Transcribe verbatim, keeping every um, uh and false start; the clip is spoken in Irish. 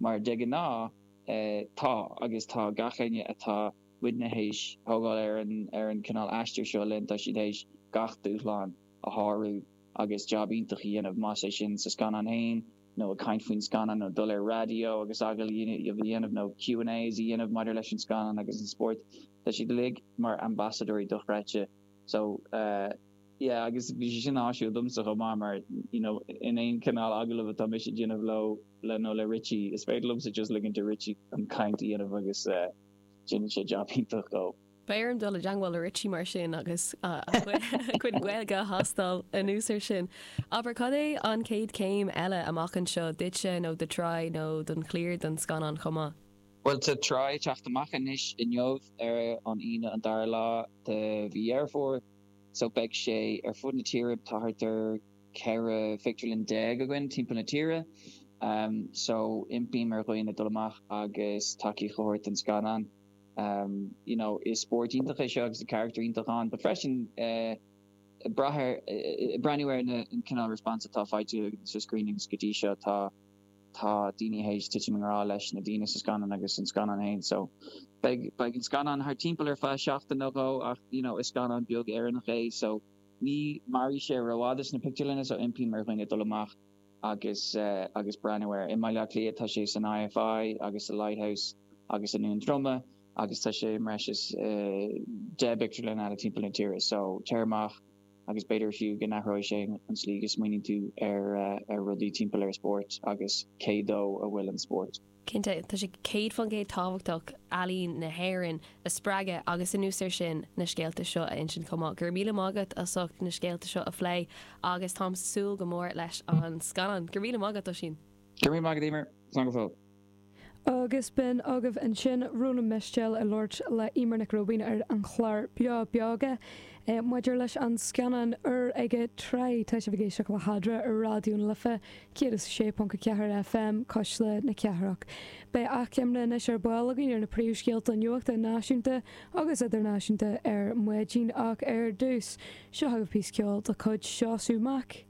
Mar de ghnáth tá agus tá gach éinne atá muidne théis thógáil ar an ar an cineál aistear seo linn tá siad théis gach dúshlán a shárú agus jab iontach a dhéanamh más é sin sa scannán féin nó ag caint faoin scannán nó dul ar raidió agus agallamh a dhéanamh nó Q and A's a dhéanamh maidir leis an scannán agus an spórt. Tá siad uilig mar ambasadóirí dochreidte. So uh, yeah, agus bhí sé sin áisiúil domsa chomh maith mar you know, in aon cineál agallamh atá mise ag déanamh leo le nó le Richie is féidir liomsa just ligint do Richie an caint a dhéanamh agus uh, déanann sé job iontach go. Beidh orm dul i dteagmháil le Richie mar sin agus chuid Gaeilge a thástáil anuas air sin. Aber cad é an chéad céim eile amach anseo duitse nó do Try nó don chliar don scannán chomh maith. Well tá Try ag teacht amach anois inniu ar an Aoine an dara lá de mhí Dheireadh Fómhair, so beidh sé ar fud na tíre tá thart ar ceithre phictiúrlann déag againn timpeall na tíre. Um, so impím ar dhaoine dul amach agus tacaíocht a thabhairt don scannán. Um, you know, is spórt iontach é seo agus character iontach ann, but freisin uh, brath uh, breathnú ar na an cineál response atá faighte sa screenings go dtí seo tá tá daoine théis titim i ngrá leis na daoine sa scannán agus an scannán féin so beidh beidh an scannán thar timpeall ar feadh seachtain nó dhó ach you know, is scannán beag Éireannach é so ní mairfidh sé rófhada sna pictiúrlanna so impím ar dhaoine dul amach agus uh, agus breathnú air. I mBaile Átha Cliath tá sé san IFI agus sa Lighthouse agus i nDún Droma agus tá sé breis is uh, deich bpictiúrlann eile timpeall na tíre so téir amach agus b'fhéidir fiú go n-athróidh sé an slí go smaoiníonn tú ar uh, ar rudaí timpeall ar spórt agus cé dó a bhfuil an spórt. Cinnte tá sé céad faoin gcéad tábhachtach ealaín na hÉireann a spreagadh agus anuas air sin na scéalta seo a insint chomh maith. Gur míle maith agat as ucht na scéalta seo a phlé agus táim ag súil go mór leis an scannán. Gur míle maith agat sin. Gur míle maith agat Eimear go fóill. Agus b'in agaibh ansin Rónán Mistéil ag labhairt le Eimear Nic Róibín ar an chlár Beo Beoga. E, maidir leis an scannán úr aige Try tá sibh ag éisteacht le hEadra ar Raidió na Life céad is sé ponc ceathair FM Cuisle na Cathrach. Beidh achoimre anois ar ball againn ar na príomhscéalta nuachta náisiúnta agus idirnáisiúnta ar maidin ach ar dtús seo chugaibh píosa ceoil de chuid Seosamh Mac.